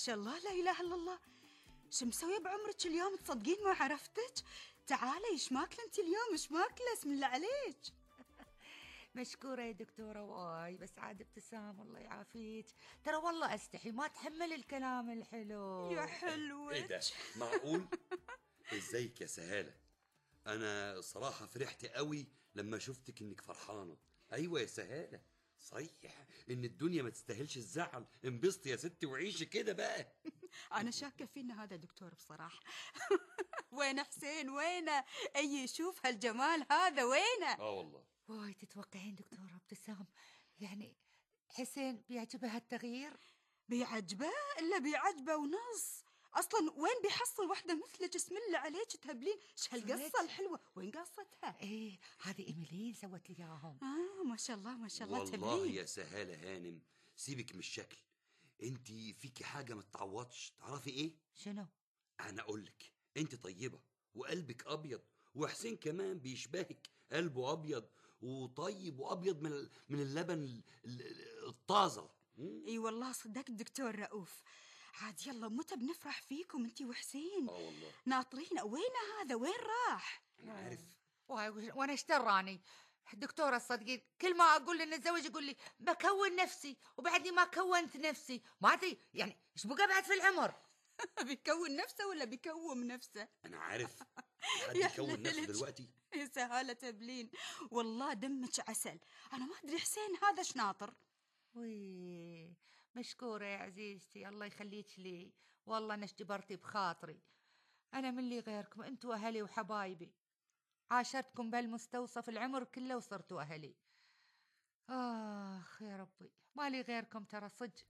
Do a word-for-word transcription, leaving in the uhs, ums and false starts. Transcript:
شاء الله، لا إله إلا الله. شو مسوية بعمرك اليوم؟ تصدقين ما عرفتك. تعالي، إيش ماكلة أنت اليوم؟ إيش ماكلة؟ اسم الله عليك. مشكورة يا دكتورة. واي بس عاد ابتسام الله يعافيك، ترى والله أستحي ما تحمل الكلام الحلو. يا حلوة. إيه ده معقول؟ إزيك يا سهالة؟ أنا صراحة فرحت قوي لما شفتك إنك فرحانة. أيوة يا سهالة، صحيح إن الدنيا ما تستاهلش الزعل. انبسطي يا ستي وعيشي كده بقى. أنا شاكة فينا هذا دكتور بصراحة. وين حسين؟ وينه؟ أي يشوف هالجمال هذا وينه؟ آه والله. واي تتوقعين دكتورة ابتسام يعني حسين بيعجبه هالتغيير؟ بيعجبه؟ إلا بيعجبه ونص. أصلا وين بيحصل واحدة مثلك؟ اسم الله عليك تهبلين. إيش هالقصة الحلوة؟ وين قصتها؟ إيه هذه إيميلين سوت لي إياهم. آه ما شاء الله ما شاء الله. والله تهبلين. يا سهالة هانم، سيبك من الشكل، انتي فيكي حاجة ما تتعوضش. تعرفي ايه؟ شنو؟ انا اقولك، انتي طيبة وقلبك ابيض، وحسين كمان بيشبهك، قلبه ابيض وطيب وابيض من ال- من اللبن ال- ال- الطازة. اي والله صدقت دكتور رؤوف. عاد يلا متى بنفرح فيكم انتي وحسين. اه والله ناطرين. وين هذا؟ وين راح؟ انا عارف. واي وانا اشتراني دكتورة الصدقين، كل ما اقول لي نتزوج يقول لي بكون نفسي وبعدني ما كونت نفسي. ما ادري يعني ايش بقى بعد في العمر. بيكون نفسه ولا بيكوم نفسه؟ انا عارف. حد يكون نفسه دلوقتي؟ يا سهالة تبلين، والله دمك عسل. انا ما ادري حسين هذا ايش ناطر. وي مشكورة يا عزيزتي، الله يخليك لي. والله أنا جبرتي بخاطري. أنا من لي غيركم، أنتوا أهلي وحبايبي، عاشرتكم بهالمستوصف العمر كله وصرتوا أهلي. آخ يا ربي، ما لي غيركم ترى صدق.